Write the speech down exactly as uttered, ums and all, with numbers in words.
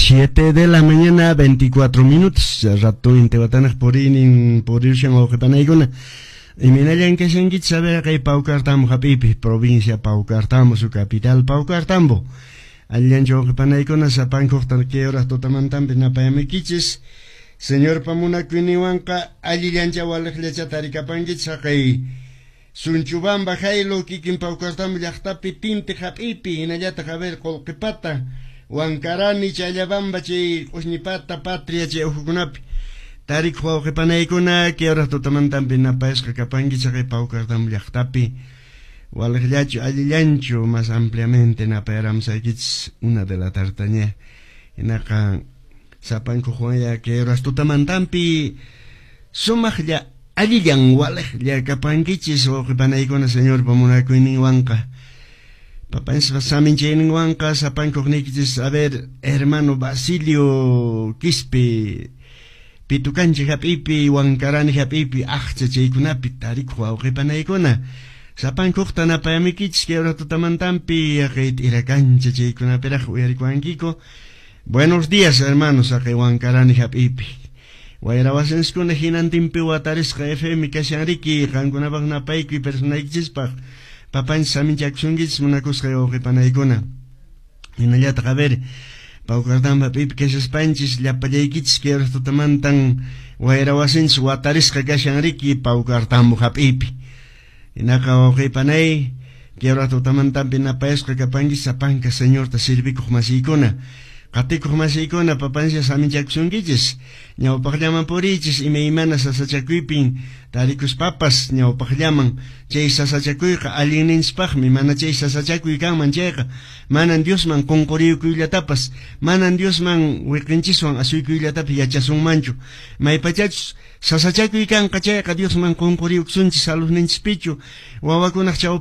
Siete de la mañana, veinticuatro minutos. Rato intiwatanaq puriynin purirushan wawqipanaykuna. Imaynallan kashankichis? A ver, kay Paucartambo hap'iypi, provincia Paucartambo, su capital Paucartambo. Allillanchu wawqipanaykuna? Sapankuqta kay horas tutamantanpi napayamikichis. Señorpa munakuyninwanqa allillancha waliqllacha tarikapankichis haqay Sunchubamba Jaylo kikin Paucartambo llaqtapi Tinti hap'iypi, hinallataq a ver Qolqipata, Wankarani, Challabamba chay Q'usñipata, Patria chay uhukunapi tarikuq wawqipanaykuna, kay horas tutamantanpi napayasqa kapankichis haqay Paucartambo llaqtapi. Waliqllachu allillanchu? Más ampliamente napayaramusaykichis una de la tartaña. Hinaqa sapankuqwanya kay horas tutamantanpi sumaqlla allillan waliqlla kapankichis wawqipanaykuna Señorpa munakuyninwanqa. Papanchispa saminchayninwanqa sapankuqniykichis, a ver, hermano Basilio Quispe, Pitukanchi hap'ipi, Wankarani hap'ipi, aqcha chaykunapi tarikuq wawqipanaykuna. Sapankuqta napayamikichis kay hora tutamantanpi haqay t'irakancha chaykunapiraq uyarikuwankiku. Buenos días, hermanos, haqay Wankarani hap'ipi. Wayrawasinskuna hinantinpi watarisqa F M kashan riki, qankunapaq napaykuy personaykichispaq. Papanchis saminchakusunkichis munakusqay wawqipanaykuna. Hinallataq a ver, Paucartambo hap'ipi kashaspanchis llapallaykichis kay hora tutamantan wayrawasinchis watarisqa kashan riki Paucartambo hap'ipi. Hinaqa wawqipanay kay hora tutamantanpi napayasqa kapankichis sapanka Señorta servikuq masiykuna. Qatikuq masiykuna, papanchis saminchakusunkichis. Ñawpaqllaman puriychis imaymana sasachakuypin tarikuspapas ñawpaqllaman, chay sasachakuyqa allinninchispaqmi. Mana chay sasachakuy kanman chayqa manan Diosman qunquriyukuyllatapas, manan Diosman wiqinchiswan asuykuyllatapis yachasunmanchu. Maypachachus sasachakuy kanqa chayqa Diosman qunquriyukusunchis saludninchispichu wawakunaq chawpinpichu.